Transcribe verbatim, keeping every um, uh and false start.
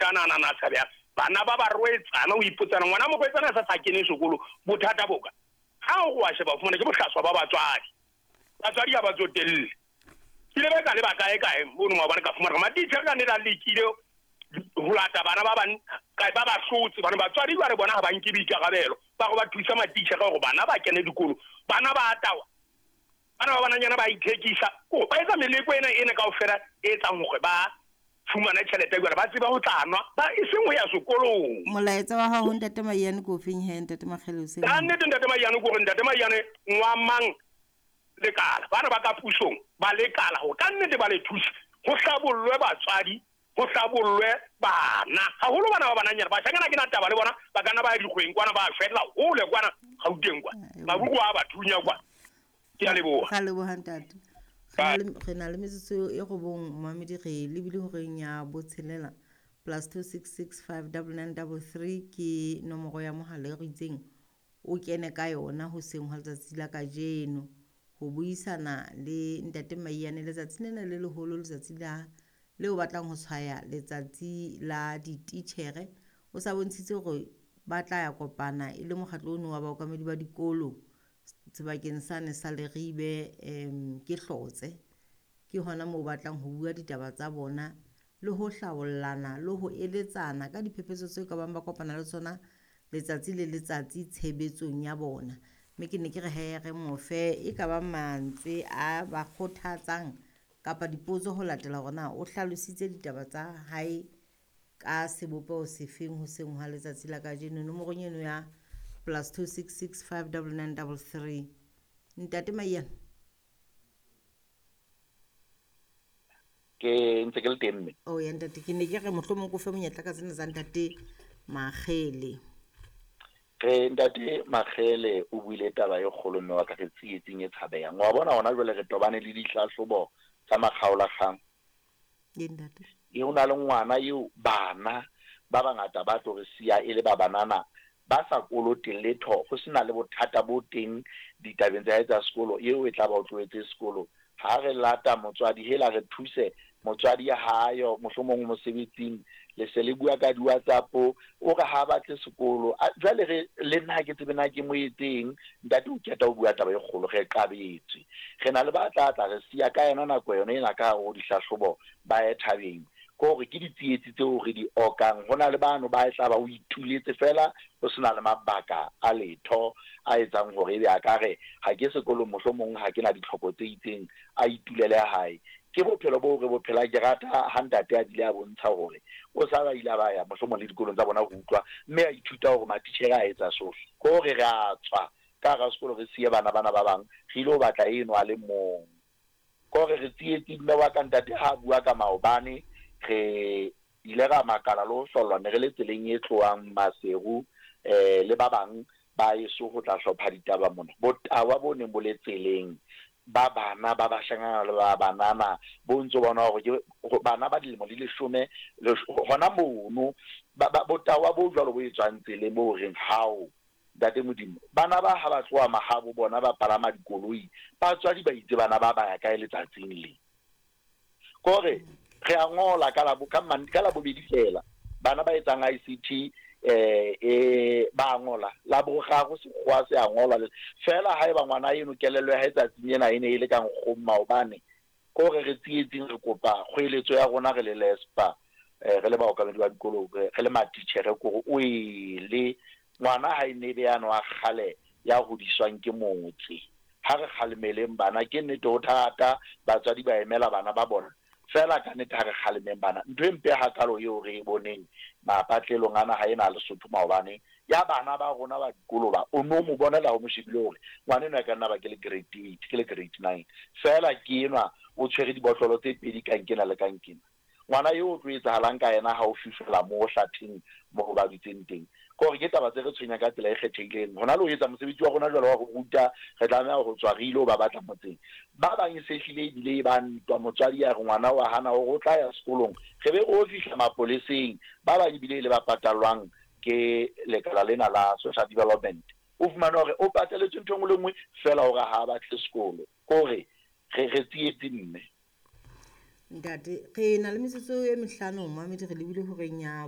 mathata ana ana a tshabehang. Bana ba barwetsana o ipotsana ngwana morwetsana sa sa kene sekolo bothata boka. Ha o wa sheba fumana ke bohlaswa ba batswadi. Batswadi ha ba tsotelle. Ke le ba ka le ba kae kae mono maobane ka fumana matitjhere ka ne la lekile ho lata bana ba bang kae ba ba hlotse bana batswadi ba re bona ha ba nke boikarabelo ba go ba thusa matitjhere hore bana ba kene dikolo bana ba atawa bana ba bananyana ba ithekisa ko ba etsa meleko ena ena kaofela e etsang hore ba fumana tjhelete jwale ba tseba ho tla nwa ba e seng ho ya sekolong. Molaetsa wa hao ntate Maiyane ko feng he ntate Makgele o se ka nnete ntate Maiyane ko re ntate Maiyane ngwa mang lekala bana ba ka pusong ba lekala ho ka nnete ba le thusa ho hlabollwe batswadi ho hlabollwe bana haholo bana ba bananyana bashanyana ke na taba le bona ba kana ba ya dikgweng kwana ba fella hole kwana Gauteng kwa mabuku a ba thunya kwa. Ke a leboha. Ga leboha ntate. Re na le metsotso e robong momamedi re lebile horeng ya botshelela plus two six six five double nine double three ke nomoro ya mohala e re itseng o kene ka yona hoseng hwa letsatsi la kajeno ho buisana le ntate Maiyane letsatsi lena le leholo letsatsi la leo batlang ho tshwaya letsatsi la dititjhere. O sa bontshitse hore ba tla ya kopana e le mokgatlo ono wa baokamedi ba dikolo sebakeng sane sa Leribe em ke Hlotse ke hona moo batlang ho bua ditaba tsa bona le ho hlabollana le ho eletsana ka diphephetso tse ka bang ba kopana le tsona letsatsi le letsatsi tshebetsong ya bona. Mme ke ne ke re he re mofe e ka ba mantswe a ba kgothatsang kapa dipotso ho latela hore na o hlalositse ditaba tsa hae ka sebopeho sefeng hoseng hwa letsatsi la kajeno. Nomorong eno ya plus two six six five double nine double three. Ntate Maiyane. Ke ntse ke le teng mme. Oh ya ntate ke ne ke re mohlomong ko fe monyetla ka tsena tsa ntate Makgele. Re ntate Makgele o buile taba e kgolo mme wa ka re tsietsing e tshabehang. Wa bona hona jwale re tobane le dihlahlobo tsa makgaolakgang. Ye ntate. E ho na le ngwana eo bana ba bangata ba tlo re siya e le ba banana ba sa koloteng letho ho sena le bothata bo teng ditabeng tsa hae tsa sekolo eo e tla ba o tlohetse sekolo. Ha re lata motswadi hela re thuse motswadi ya hayo mohlomong mosebetsing le se le bua ka di-WhatsApp o re ha batle sekolo jwale re le nna ke tsebe na ke mo etseng. Ntate o keta o bua taba e kgolo re qabetswe re na le ba tla tla re siya ka yona nako yona ena ka ho dihlahlobo ba ye thabeng ko hore ke ditsietsi tseo re di okang. Ho na le bano ba tla ba o ituletse fela ho sena le mabaka a letho a etsang hore ebe a ka re ha ke sekolong mohlomong ha ke na ditlhoko tse itseng a itulele hae. Ke bophelo bo re bophela ke rata ha ntate a bile a bontsha hore o sa ba ile ba ya mohlomong le dikolong tsa bona ho utlwa mme a ithuta hore matitjhere a etsa sohle. Ko hore re a tswa ka hara sekolo re siye bana bana ba bang re ile ho batla eno a le mong. Ko hore re tsietsi mme wa ka ntate ha bua ka maobane re ile ra makala le ho hlollwa ne re le tseleng e tlohang Maseru eh le ba bang ba eso ho tla hlopha ditaba mona. Botawa bo neng bo le tseleng ba bana ba bashanyana le ba banana bo ntso bona hore ke bana ba dilemo di leshome hona mono botawa bo jwalo bo etswang tseleng bo reng hao ntate Modimo bana ba ha ba tloha mahabo bona ba palama dikoloi batswadi ba itse bana ba ba ya kae letsatsing le. Kore re a ngola ka la ka ka la bobedi fela bana ba etsang I C T eh e ba ngola la boraro sekgowa se a ngola fela ha eba ngwana eno kelello ya hae tsatsing ena e ne e le ka nkgong maobane. Ko re re tsietsing re kopa kgoeletso ya rona re le lespa re le baokamedi ba dikolo re le matitjhere kore o ele ngwana ha e ne be yano a kgale ya hodiswang ke motse. Ha re kgalemeleng bana ke nnete ho thata batswadi ba emela bana ba bona fela ka nnete ha re kgalemeng bana. Ntho e mpe hakalo eo re e boneng mapatlelong ana ha ena Lesotho maobane ya bana ba rona ba dikolo ba o no mo bonela ho mo shebile hore ngwana enwa e ka nna ba ke le grade eight ke le grade nine fela ke enwa o tshwere dibotlolo tse pedi kankena le kankena. Ngwana eo o tlo etsahalang ka yena ha o fihlela mo hlatheng mo ba dutseng teng. Ko hore ke taba tse re tshwenyang ka tsela e kgethehileng. Hona le ho etsa mosebetsi wa rona jwalo wa ho ruta re tlameha ho tswa re ile ho ba batla motseng. Ba bang e se hlile ebile e ba ntwa motswadi ya re ngwana wa hana hore o tla ya sekolong re be re o fihla mapoleseng. Ba bang ebile e le ba patalwang ke lekala lena la social development. O fumane hore o pateletswe ntho e nngwe le nngwe fela hore ha a batle sekolo. Ko hore re re tsietse mme. Ntate re na le metsotso e mehlano momamedi re lebile horeng ya